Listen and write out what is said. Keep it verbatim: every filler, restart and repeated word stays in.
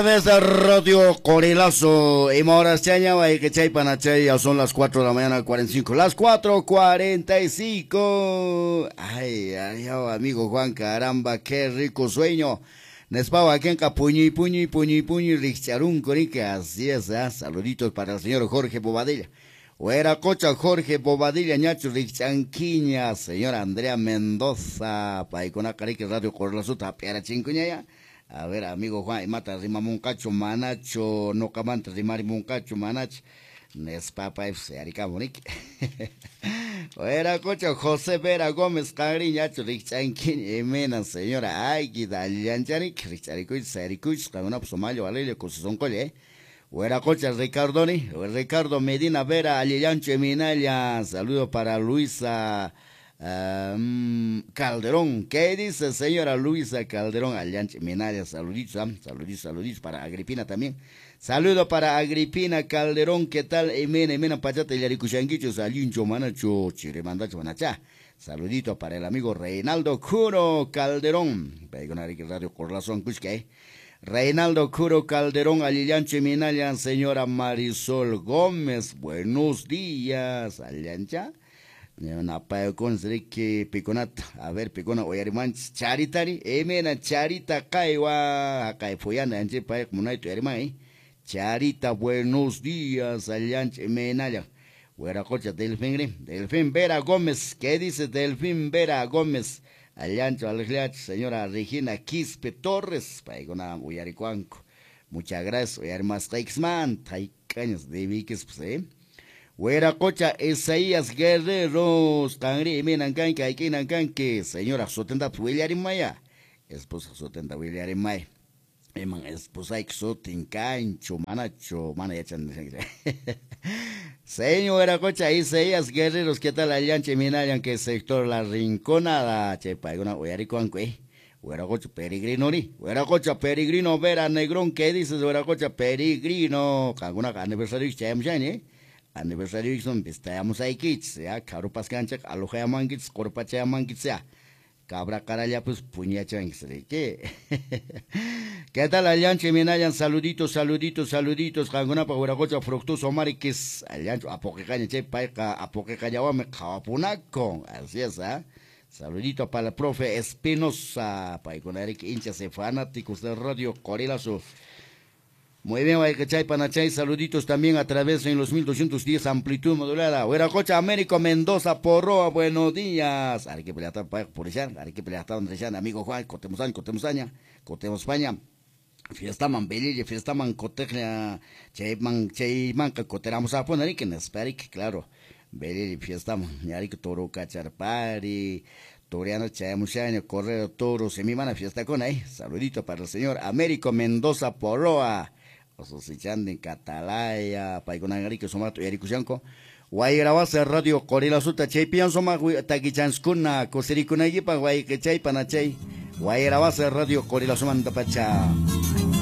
Mesa Radio Corilazo y horas chaña que chay panachay, ya son las cuatro de la mañana cuarenta y cinco, las cuatro cuarenta y cinco. Ay, ay, oh, amigo Juan, caramba, qué rico sueño. Nespawa kenka puñi puñi puñi puñi richarun corica, así es, ¿eh? Saluditos para el señor Jorge Bobadilla. Hueracocha Jorge Bobadilla, ñacho richanquiña, señora Andrea Mendoza, paicona carique Radio Corilazo, tapiara chincuñaya. A ver, amigo Juan, mata rimamuncacho, manacho, no camanta rimarimuncacho, manacho. Nespapa, yarikamunik. Hueracocha José Vera Gómez, cariñacho, richanquín, emena, señora, ay, guidallanchanik, richaricuich, saricuich, camina, pues, mayo, alelio, cosisoncolle, eh. Hueracocha Ricardoni, Ricardo Medina Vera, Alillancho, Eminaya, saludo para Luisa Um, Calderón, ¿qué dice señora Luisa Calderón? Allanche Minaya, saluditos, ¿eh? Saluditos, saluditos para Agripina también. Saludo para Agripina Calderón, ¿qué tal? Emena, Emena Pachata, Yaricushanguicho, Salincho, Manacho, Chirimandacho, Manachá. Saludito para el amigo Reinaldo Curo Calderón. Radio Corazón, Cusque. Reinaldo Curo Calderón, Alillanche Minaya, señora Marisol Gómez, buenos días, Allancha. Piconata, a ver, picona, oyarimanch, charitari, emena, charita, kaiwa, kaifoyana, anche, pay, munaito, yarimay, charita, buenos días, allanch, emenaya, hueracocha, Delfín, Delfín Vera Gómez, ¿qué dice Delfín Vera Gómez? Allancho, alejach, señora Regina Quispe Torres, paigona, uyaricuanco, muchas gracias, oyarimas, taixman, taicaños, de viques, pues, eh. Hueracocha Isaías Guerreros, Tangri, Minancanque, Aiquinancanque, señora Sotenda Huillarimaya, esposa Sotenda Huillarimaya, Eman esposa Xotincancho, Manacho, Manayachan. Señora Cocha Isaías Guerreros, ¿qué tal? Allanche Minayan, que sector La Rinconada, Chepa, una Huericuanque, eh. Hueracocha Peregrino, ni, Hueracocha Peregrino, Vera Negrón, ¿qué dices, Hueracocha Peregrino? Canguna aniversario, Chayamchan, eh. Aniversario son vistayamos ahí kits, ya, carupas cancha, alojayamanquits, corpachayamanquits, ya, cabra caralla, pues puñachanquits, ¿qué? ¿Qué tal, Allanche Minayan? Saluditos, saluditos, saluditos, Jangunapa, Hueracocha, Fructuoso, Mariquis, Allancho, Apoquecaña, che, paica, Apoquecayawame, Jawapunaco, así es, ¿ah? Saludito para el profe Espinosa, paiconaric, hinchas y fanáticos de Radio Corilazo. Muy bien, Guaycachay, Panachay, saluditos también a través en los mil doscientos diez amplitud modulada. Hueracocha, Américo Mendoza, Porroa, buenos días. Amigo Juan, Cotemusaña, Cotemusaña, Cotemuspaña. Fiesta man belille, fiesta man cotejla, chayman, chayman, coteramos a poner, que nesperik, claro. Belille, fiesta man, ñarik, toro, cacharpari. Toriano, Chayamuchaño, Correo, Toro, semimana, fiesta con ahí. Saludito para el señor Américo Mendoza Porroa. Ososichanden, Catalaya, Paiconangarique, Somato, Yaricushanco, Guayrabasa, Radio Corilazuta, Chaypian, Soma, Taquichanskuna, Cosericunayipa, Guayquechay, Panachay, Guayrabasa, Radio Corilazumanta Pacha.